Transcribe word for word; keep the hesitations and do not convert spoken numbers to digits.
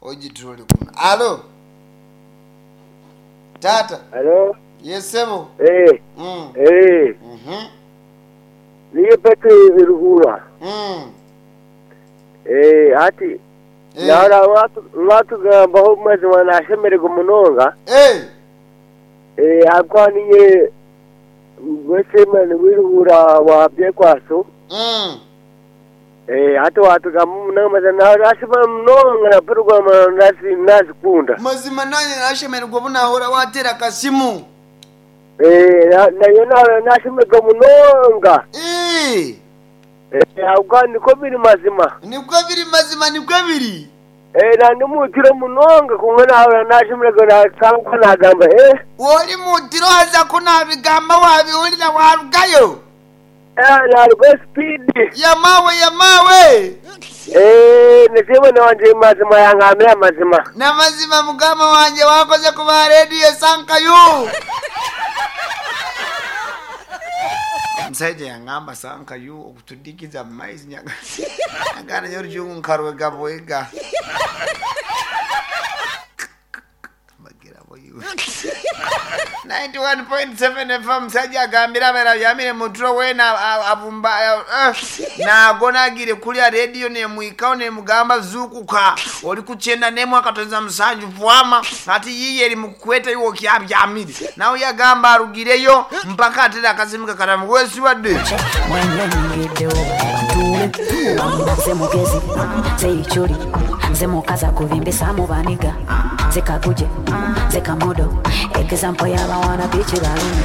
Ogitroli kuno. Alo taata. Alo. Yesebo. Eh. Mm. Eh. Mhm. Niye Petro Ruhura. Mm. Eh, ati Eh. nara watu watugambaho mazima nashemererwa munonga. Eh. Eh, akwaniye wesemani w'iruhura wa byekwaso. Mm. Eh, ati watugamba munonga mazima nashema munonga na program nasi nazikunda. Mazima nanye nashemererwa obu nahora watera akasimu. Eh, na- nayo na- nashemererwa munonga. Eh. Eh, akwani niko biri mazima. Nibwo biri mazima, nibwo biri. Eh, nandi mutiro munonga kumwe nawe nashemererwa nasanga nagamba eh. Woli mutiro haza kunabigamba wabiwulira warugayo. Eh, narwo speed. Yamawe yamawe. Eh, nisema wanje mazima yangamira mazima. Namazima mugama wanje wakoze kuba rediyo sankayu. Omusajja yangamba sankayu okutudikiza mu maizi nyaga. Agana yorujungu nkarwega bwega. Bagira boyiwe. ninety-one point seven F M musajja agambira abeera byamire muturo weena abumba eh, nagonagire kulya rediyo nemwikawo nemugamba zuukuka oli kukyenda nemu akatoza musanju vwama ati yiye eri mukukweta iwe okyabyamire nawe yagamba arugireyo mpaka atera akasimu kakatamu wesibadde mwenyonyingiddewo ntuule nze mugezi nze ichuli nze mukazi akubimbisa mu baniga nze kaguje nze kamodo example y'abawana biiki balumi.